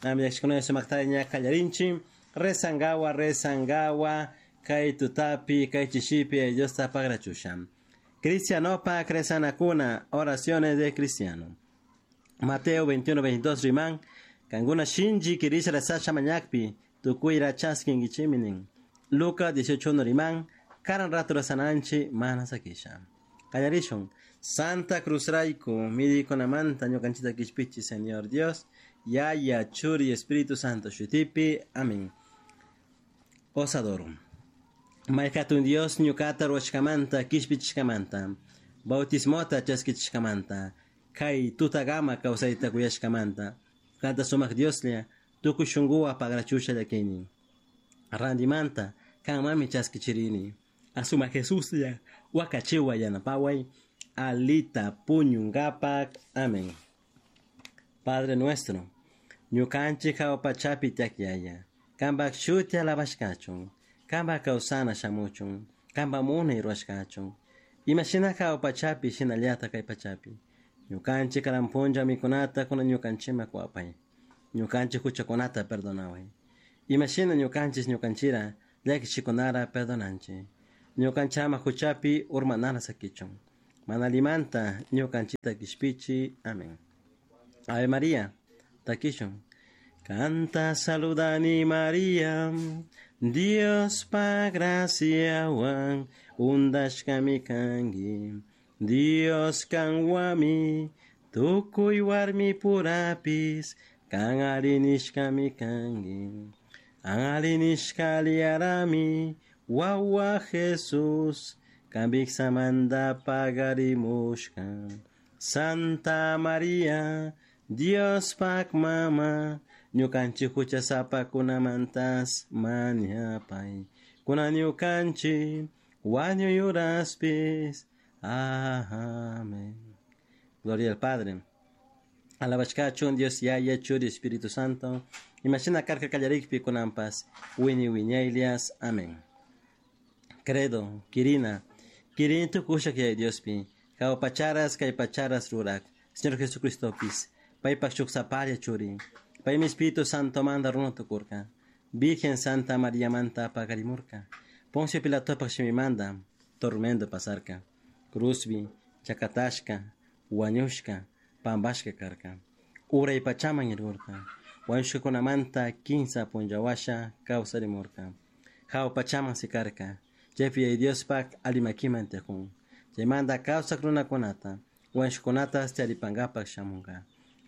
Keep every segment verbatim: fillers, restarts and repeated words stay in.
Amillaxikuna sumaktalla ña kallarinchik rezangawa rezangawa kay tutapi kay chishipi Diosta pagrachusha. Cristianopa rezanakuna, oraciones de cristiano. Mateo veintiuno veintidós riman, kankuna shinchi kirisha rezasha mañakpi, tukuyra chaskinkichiminin. Lucas dieciocho uno riman, karan rato rezananchi mana sakisha. Kallarishun, Santa Cruz rayku, midikunamanta ñukanchita kishpichi, Señor Dios, Yaya, Churi, Espíritu Santo, shutipi, amén. Os adoro. Maykatun Dios ñukata ruwashkamanta, kishpichishkamanta, bautismota chaskichishkamanta, kay tutagama kawsayta kuyashkamanta, kanta sumak Dioslla, tukuy shunkuwa pagrachusha llakini. Randimanta, kanmami chaskichirini. Asuma Jesuslla, wakachiwa yanapaway, alita puñungapak. Amén. Padre nuestro, ñukanchik hawa pachapi tiyak Yaya, kanpak shuti alabashkachun, kanpak kawsana shamuchun, kanpak munay rurashkachun, imashina hawa pachapi shinallata kay pachapi. Ñukanchik karan punlla mikunata kunan ñukanchikman kuwapay, ñukanchik huchakunata perdonaway, imashina ñukanchik ñukanchira llakichikunara perdonanchik, ñukanchama huchapi urmanara sakichun, mana allimanta ñukanchikta kishpichi. Amén. Ave María, takishun. Kanta saludani María, Diospa graciawan undashkami kanki, Dios kanwami, tukuy warmi purapis, kan arinishkami kanki. Arinishka liarami, wawa Jesús, kanpiksamanta pagarimushka. Santa María, Diospak mama, ñukanchik huchasapakunamantas mañapay, kunan ñukanchik wañuy uraspis. Amén. Gloria al Padre. Alabashkachun Dios Yaya, Churi, Espíritu Santo. Imashina karka kallarikpi kunanpas, wiñay wiñaylias. Amén. Credo, Kirina, Kirini tukushak Yaya Diospi, hawa pacharas kay pacharas rurak, Señor Jesucristopis, paypak shuk sapalla churi, paymi Espíritu Santo manta runa tukurka, Virgen Santa María manta pakarimurka, Poncio Pilatopak shimimanta, tormento pasarka, cruzbi, chakatashka, wañushka, pampashka karka, uray pachaman irkurka, wañushkakunamanta kinsa punlla washa kawsarimurka, hawa pachaman sikarka, chaypi Yaya Diospak alli makiman tiyakun, chaymanta kawsak runakunata, wañushkakunatas charipankapak shamunka.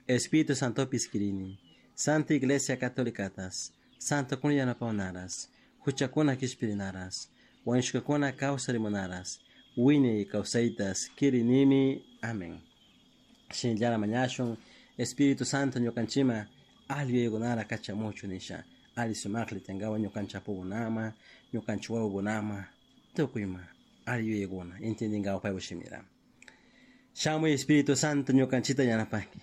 Espíritu Santopis kirini, Santa Iglesia Católicatas, Santokuna yanapawnaras, huchakuna kishpirinaras, wañushkakuna kawsarimunaras, wiñay kawsaytas kirinimi. Amén. Shinallara mañashun, Espíritu Santo ñukanchima alli yuyaykunara kachamuchu nisha, alli sumakli tiyankawa ñukanchik apukunama, ñukanchik wawakunama, tukuyma alli yuyaykuna entendinkawa paypak shimira. Shamuy Espíritu Santo ñukanchikta yanapanki,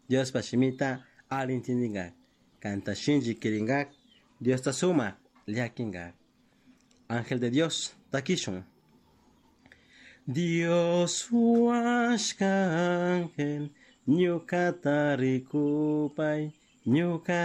Diospa shimita alli entendinkak, kanta shinchi kirinkak, Diosta sumak llakinkak. Ángel de Dios, takishun. Dios huashka ángel, ñukata rikupay, ñuka